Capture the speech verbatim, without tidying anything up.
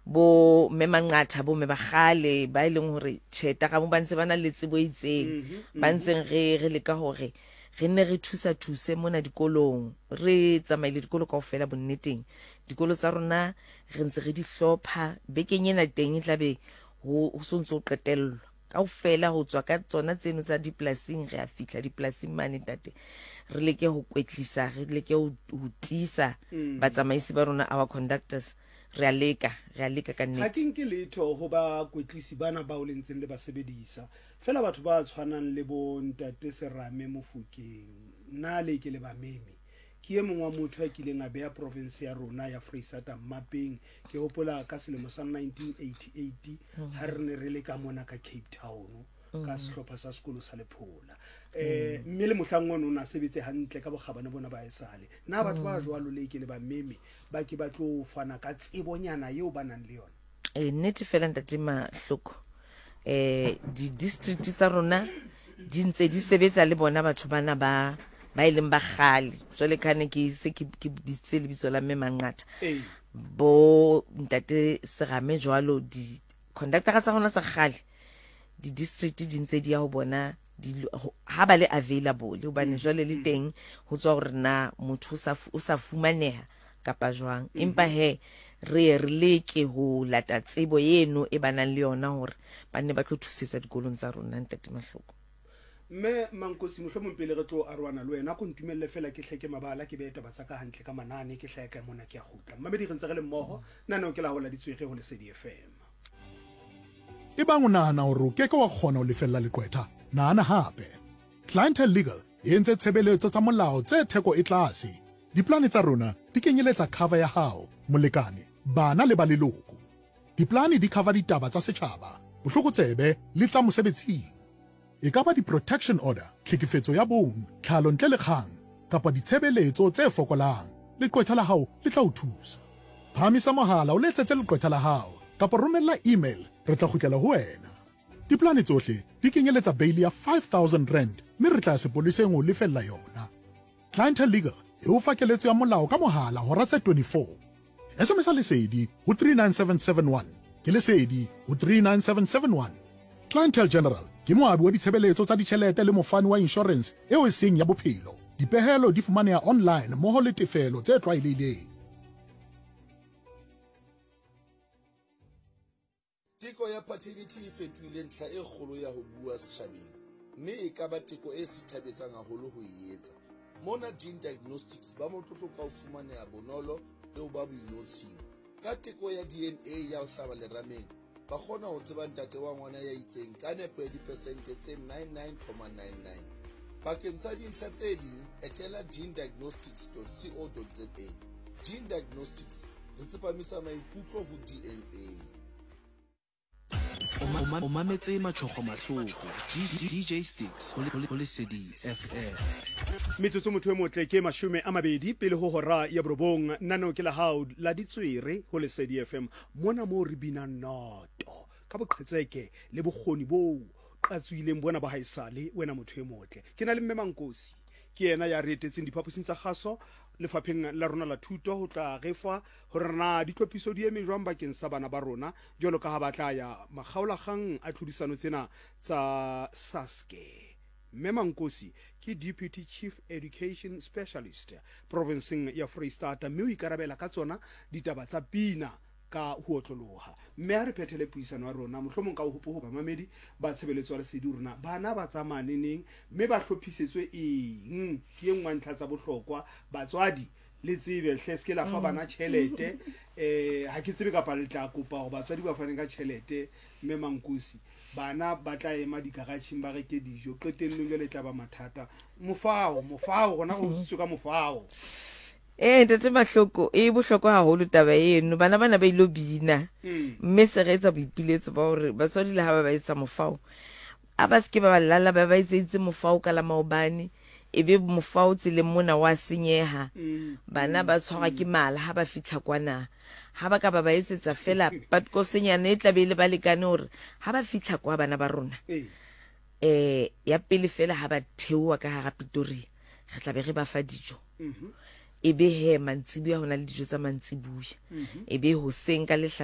Bo mme Manqatha, bo mme ba kgale ba e leng hore tjhe tagamo ba ntse ba na le tsebo e itseng, ba ntseng re re leka hore re nne re thusa thuse mona dikolong. Re tsamaile dikolo kaofela bonneteng, dikolo tsa rona re ntse re di hlopha. Bekeng ena teng e tlabe ho ho so ntso qetellwa kaofela ho tswa ka tsona tseno tsa dipolasing. Re a fihla dipolasing mane, ntate, re leke ho kwetlisa, re leke ho ho tiisa batsamaisi ba rona, our conductors. Re a leka, re a leka ka Ha nnete. Ke nke letho ho bakwetlisi bana bao le ntseng le ba sebedisa fela, batho ba tshwanang le bo ntate Serame Mofokeng, nna le ke le ba meme. Ke e mong wa motho a kileng a beha province ya rona ya Freistata mmapeng. Ke hopola ka selemo sa nineteen eighty-eight ha re ne re le ka mona ka Cape Town ka sehlopha sa sekolo sa Lephola, eh mme le mohlang ono o na sebetse hantle ka bokgabane bona ba esale. Na batho ba jwalo le ke le ba meme ba ke ba tlo fana ka tsebonyana eo ba nang le yona? E nnete fela, ntate Mahloko, eh di-district tsa rona di ntse di sebetsa le bona batho bana ba ba e leng ba kgale. Jwale ka ne ke se ke ke bitsitse lebitso la mme Manqatha, ee bo ntate Serame jwalo, di-conductora tsa rona tsa kgale, di-district di ntse di ya ho bona di ho- ha ba le available, hobane jwale le teng ho tswa hore na motho o sa fu- o sa fumaneha kapa jwang. Empa he re ye re leke ho lata tsebo eno e ba nang le yona hore ba nne ba tlo thusetsa dikolong tsa rona, ntate Mahloko. Mme Mankosi, mohlomong pele re tlo aroana le wena, ko ntumelle fela ke hleke mabala, ke behe taba tsa ka hantle ka manane, ke hlahe ka mona, ke a kgutla. Mmamedi, re ntse re le mmoho naneo ke la ho la Ditswere ho Lesedi F M. Ebang o nahana hore o keke wa kgona ho lefella leqwetha, nahana hape. Clientele Legal e entse tshebeletso tsa molao tse theko e tlase. Diplane tsa rona di kenyeletsa cover ya hao, molekane, bana le ba leloko. Diplane di cover ditaba tsa setjhaba, bohlokotsebe le tsa mosebetsing. E ka ba di-protection order, tlhekefetso ya bong, tlhalo ntle le kgang, kapa ditshebeletso tse fokolang. Leqwetha la hao le tla o thusa. Phahamisa mohala o letsetse leqwetha la hao kapa romella email, re tla kgutlela ho wena. Diplane tsohle di kenyeletsa bail ya five thousand rand mme re tla ya sepoleseng ho lefella yona. Clientele Legal e o fa keletso ya molao ka mohala hora tse twenty-four. S M S Lesedi ho three nine seven seven one. Ke Lesedi ho three nine seven seven one. Clientele General ke moabi wa ditshebeletso tsa ditjhelete le mofani wa insurance eo e seng ya bophelo. Dipehelo di fumaneha online mmoho le tefelo tse tlwaelehileng. Teko ya paternity e fetohile ntlha e kgolo ya ho bua setjhabeng, mme e ka ba teko e sithabetsang haholo ho e etsa. Mona Gene Diagnostics ba motlotlo ka ho fumaneha bonolo le ho ba boinotshing. Ka teko ya D N A ya ho hlaba lerameng, ba kgona ho tseba ntate wa ngwana ya itseng ka nepo ya dipersente tse ninety-nine point nine nine. Bakeng sa dintlha tse ding, etela genediagnostics dot co dot za. Gene Diagnostics, re tsepamisa maikutlo ho D N A. O mametse Matšhogo Mahloko, D J Sticks ho Lesedi F M. Metsotso, motho e motle, ke mashome a mabedi pele ho hora ya borobong. Nano ke la hao la Ditswere ho Lesedi F M, mona moo re binang noto ka boqhetseke le bokgoni bo qatswileng bona ba haesale. Wena motho e motle, ke na le mme Mankosi, ke yena ya re etetseng diphaposing tsa kgaso lefapheng la rona la thuto ho tla re fa hore na ditlhophiso di eme jwang bakeng sa bana ba rona jwalo ka ha ba tla ya makgaolakgang a tlhodisano tsena tsa SASCE. Mme Mankosi ke Deputy Chief Education Specialist provinceng ya Freistata, mme o ikarabela ka tsona ditaba tsa pina ka ho otloloha. Mme ha re phethele puisano ya rona, mohlomong ka ho hopo ho bamamedi ba tshebeletso ya Lesedi rona bana ba tsamaya neneng mme ba hlophisetswe eng? Ke e nngwe ntlha tsa bohlokwa. Batswadi, le tsebe hle, se ke la fa bana tjhelete. um ha ke tsebe kapa le tla kopa hore batswadi ba fane ka tjhelete. Mme Mankosi, bana ba tla ema dikaratjheng ba reke dijo, qetellong jwale e tla ba mathata. Mofao, mofao gona go utswitswe ka mofao. Ee, ntate Mahloko, e bohlokwa haholo taba eno. Bana bana ba ilo bina, Mm. mme se re etsa boipiletso ba hore batswadi le ha ba ba etsa mofao, a ba seke ba ba lala ba ba etseditse mofao ka la maobane, e be mofao tseleng mona wa senyeha. Mm. Bana ba tshwarwa ke mala ha ba fitlha kwana. Ha ba ka ba ba etsetsa fela patkosenyana e tlabe e le ba lekane hore ha ba fitlha kwa bana ba rona, ee eh ya pele fela ha ba theoha ka hara Pretoria, re tla be re ba fa dijo. Mhm. E be he mantsibuya ho na le dijo tsa mantsibuya, e be hoseng ka lehlahla.